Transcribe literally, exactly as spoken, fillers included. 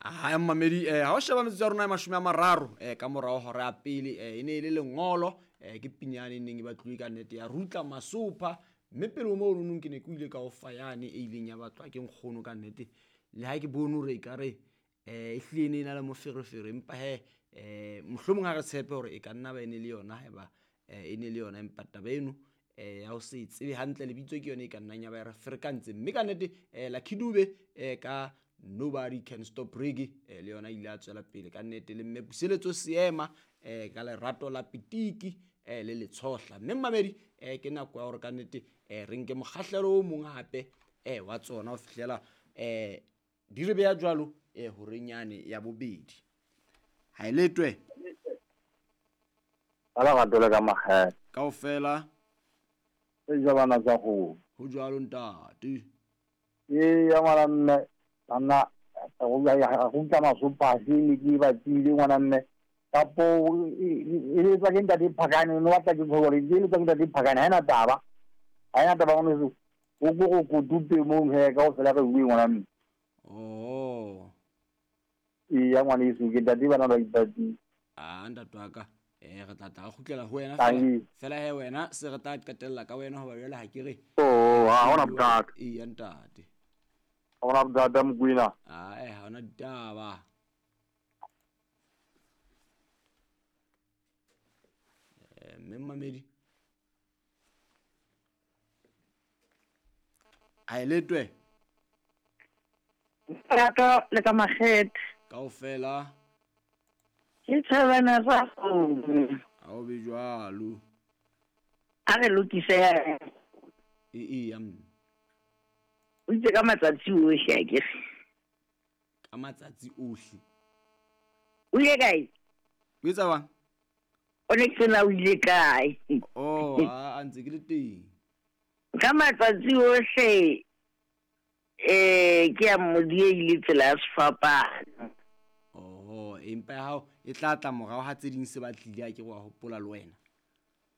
Ha mmamedi eh ha o sheba metsotso ya rona ya mashome a mararo eh ka morao hora ya pele eh e ne e le lengolo eh ke pinyane e neng e batluwe ka nnete ya Rutla Masopha mme pele ho moo nonong ke ne ke ile ka o fa yane e ileng ya batlwa ke nkgono ka nnete le ha ke bone hore ekare eh e hlile e ne e na le moferefere empa he eh mohlomong ha re tshepe hore e ka nna ba e ne le yona haeba eh e ne le yona empa taba eno eh ya ho se tsebe hantle lebitso ke yone e ka nnang ya ba e re ferekantse mme ka nnete eh Lucky Dube eh ka Nobody Can Stop Reggae eh le yona ile a tswela pele ka nnete le mme Puseletso Seema eh ka lerato la pitiki eh le letshohla mme mmamedi eh ke nako ya hore ka nnete eh re nke mokgahlelo o mong hape eh wa tsona ho fihlela eh di re beha jwalo eh horeng yane ya bobedi ha e letwe Ka lerato le ka makgethe. Kaofela E ja bana tsa kgomo. Ho jwalo ntate. Ee ya ngwana mme banna go utlwa masopase ne ke batlile ngwana mme kapo e letswa ke ntate Phakane no batla ke gore e letswa ke ntate Phakane ha ena taba ha ena taba ngwaneso o ko go kotupe mong he kaofela re bue ngwana mme. Oh. Ee ya ngwaneso ke ntate bana ba ipatile. Ah ntate wa ka eh re tla tla re kgutlela ho wena fela fela he wena se re tla qetella ka wena hoba jwale ha ke re. Oh ha hona bothata. Ee ya ntate. Ha hona bothata Mokwena. Ah eh ha hona ditaba. Eh mme mmamedi. A e letwe. Lerato le ka makgethe. Kaofela. Ke thabana sa kgomo. Ha o be jwalo. A re lokise. E e ya mme. O itse ka matsatsi ohle akere. Ka matsatsi ohle. O ile kae? O etsa bang? O ne ke na o ile kae? Oh, a ntse ke le teng. Ka matsatsi ohle eh ke a modie ile tsela ya sefapano. Oh, empa ya hao e tla tla morao ha tse ding se batlile a ke wa hopola le wena.